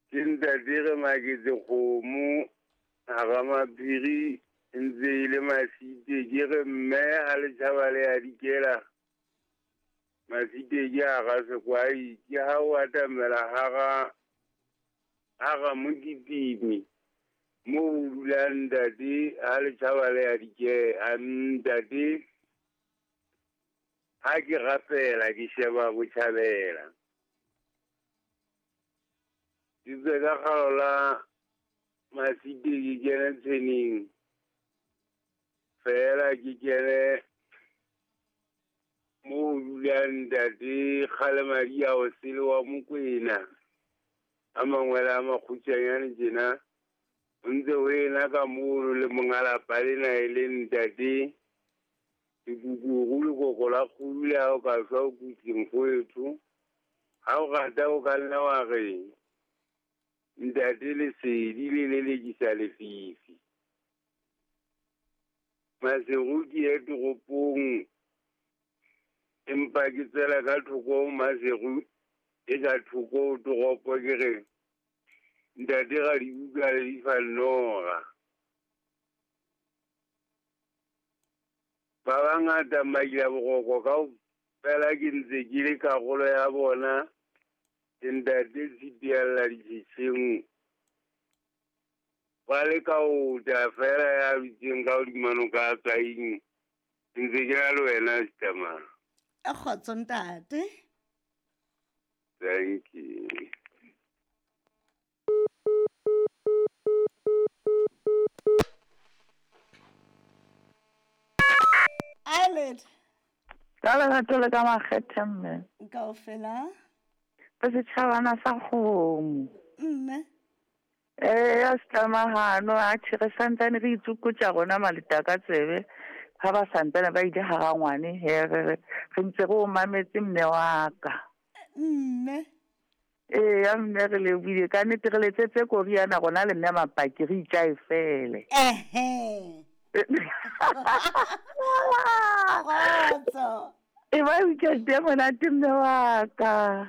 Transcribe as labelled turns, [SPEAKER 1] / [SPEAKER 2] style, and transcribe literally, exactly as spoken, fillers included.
[SPEAKER 1] Ke ntate re maketse kgomo hara maphiri ntse e le Masite ke re mme ha le tjhaba le ya dikela Masite ke hara sekwai ke ha o atamela hara hara mokitimi mo o dulang ntate ha le tjhaba le ya dikela ntate ha ke rapela ke sheba botjhabela. Ke tswe ka kgalo la Masite ke kene tshweneng fela ke kene mo ho dulang ntate Kgalemadi a o sele wa Mokwena a mangwele a makgutshwanyane tjena o ntse ho ena ka mono le monga lapa lena e leng ntate Sekukuru lekoko la kgudu le ha o ka shwa o kutse mfowetho. Ha o rata o ka nna wa re ntate lesedi le lelekisa lefifi. Maseru ke ye toropong empa ke tswela ka thoko ho Maseru e ka thoko ho toropo ke re ntate Radibuka le difa nora. Ba bangata Makila Boroko kaofela ke ntse ke le karolo ya bona ke ntate Tshitialla ditjhetjheng ba le ka ota fela ya dutseng ka hodima noka ya Tsaing ke ntse ke na le wena Sitamang.
[SPEAKER 2] A kgotso ntate.
[SPEAKER 1] Thank you.
[SPEAKER 2] Eyelid.
[SPEAKER 3] Ka lerato le ka makgethe mme.
[SPEAKER 2] Kaofela.
[SPEAKER 3] Ka setjhabana sa kgomo.
[SPEAKER 2] Mme.
[SPEAKER 3] Eh ya setlamahano a tjhe re santsane re itsokotsa rona maleta ka tsebe ha ba santsane ba ile hara ngwane he re re re ntse re o mametse mme wa ka.
[SPEAKER 2] Mme.
[SPEAKER 3] Eh ya mme re lebohile ka nnete re letsetse koriana rona le mme Mapaki re itjae fele.
[SPEAKER 2] Ehe. Kgotso.
[SPEAKER 3] E ba weekend e monate mme wa ka.